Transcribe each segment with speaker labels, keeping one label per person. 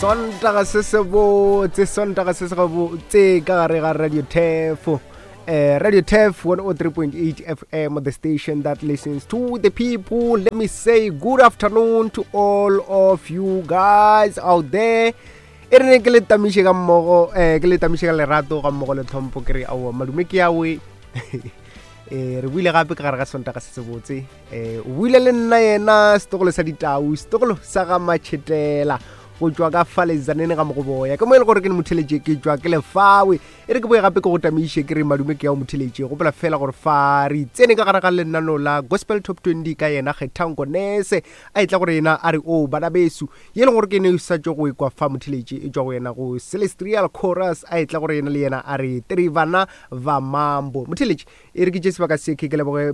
Speaker 1: Sontaga se se botse, Sontaga se se gabotse ka gare ga Radio Tefo. Radio Tef 103.8 FM, the station that listens to the people. Let me say good afternoon to all of you guys out there. E re ne ke le tamiše ka mmogo, ke le tamiše ka lerato ga mmogo le tlhompho, ke re aowa madume ke awe. Re buile gape ka gare ga Sontaga se se botse. O buile le nna yena setogolo sa ditau, setogolo sa ga Matšhetela go tšwa ka fa lezanene ga mogoboya, ke mo e le gore ke ne motheletše ke tšwa ke lefawe. E re ke boye gape ke go tamiše ke re madume ke ya o motheletše. Gopola fela gore fa re tsene ka gare ga lenano la Gospel Top 20 ka yena Kgethango Nese a etla gore yena a re o bana besu ye leng gore ke ne sa tšo go ekwa fa motheletše e tšwa go yena go Celestial Chorus a etla gore yena le yena a re Trivana va Mambo. Motheletše e re ke tše sebaka se ke leboge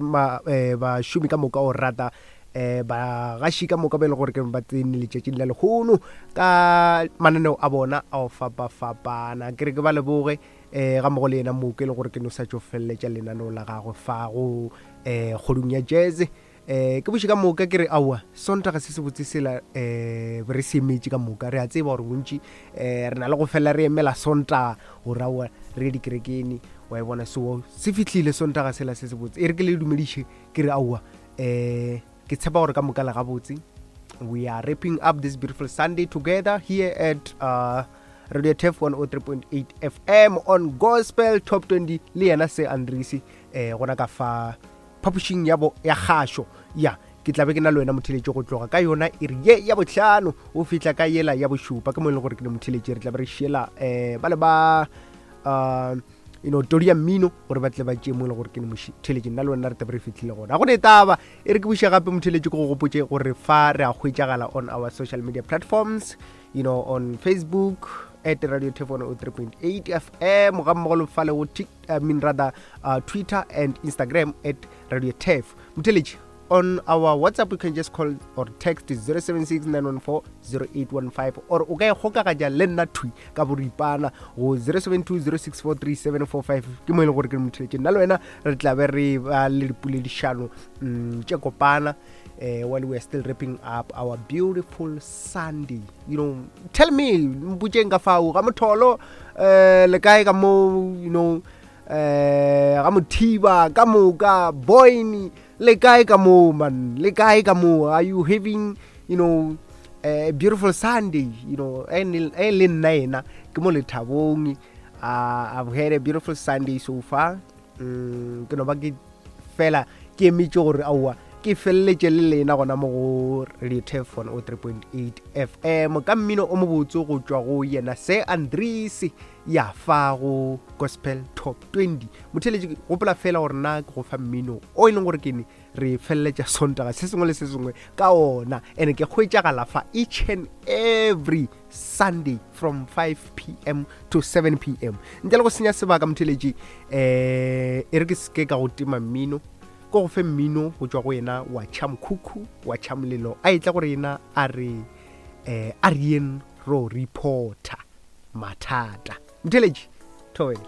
Speaker 1: bašomi ka moka o rata bagaši ka moka ba e le gore ke ba tsene letšatšing la lehono ka mananeo a bona a go fapafapana. Ke re ke ba leboge ga mmogo le yena moke e le gore ke no sa tšo feleletša lenaneo la gagwe fa go kgodung ya jazz. Ke buše ka moka ke re aowa Sontaga se se botse sela re se emetše ka moka. Re a tseba gore bontši re na le go felela re emela Sontaga gore aowa re ye dikerekeng, wa e bona. So se fihlile Sontaga sela se se botse. E re ke le dumediše ke re aowa ke tshepa gore ka moka le gabotse. We are wrapping up this beautiful Sunday together here at Radio Tef 103.8 FM on Gospel Top 20 le yena se Andrisi gona ka fa phapošing ya bo ya kgašo. Ya ke tlabe ke na le wena motheletše go tloga ka yona iri ye ya bohlano o fihla ka yela ya bošupa, ke mo e leng gore ke ne motheletše re tlabe re šiela ba le ba you know todi ya mmino gore ba tle ba tšee mo e leng gore ke ne motheletše nna le wena re tlabe re fihlile gona. Ga go ne taba e re ke buše gape motheletše ke go gopotše gore fa re a hwetšagala on our social media platforms, you know, on Facebook at Radio Tef 103.8 FM ga mmogo le fa le go I mean rather Twitter and Instagram at Radio Tef. Motheletše on our WhatsApp you can just call or text 076-914-0815 or o ka e kgokaganya le nna thwi ka boripana go 072-064-3745. Ke mo e leng gore ke motheletše nna le wena re tla be re ba le dipoledišano tše kopana while we are still wrapping up our beautiful Sunday. You know, tell me mpotšeng ka fao ga motholo le kae ka mo, you know, ga mothiba ka moka boyne le kae ka mo, man, le kae ka mo? Are you having, you know, a beautiful Sunday? You know, e le nna ena ke mo lethabong. I've had a beautiful Sunday so far. Ke no ba ke fela ke emetše gore aowa ke feleletše le lena gona mo go Radio Tef 103.8 FM ka mmino o mobotse go tšwa go yena se Andries ya fa go Gospel Top 20. Motheletše gopola fela gore na ke go fa mmino o e leng gore ke ne re feleletša Sontaga se sengwe le se sengwe ka ona, and ke hwetšagala fa each and every Sunday from 5 p.m. to 7 p.m. Ntle le go senya sebaka motheletši, e re ke seke ka go tima mmino, ko go fe mmino go tšwa go yena wa Chamkhukhu wa Chamlelo a etla gore yena a re a re ro reporter mathata. Motheletši thobela.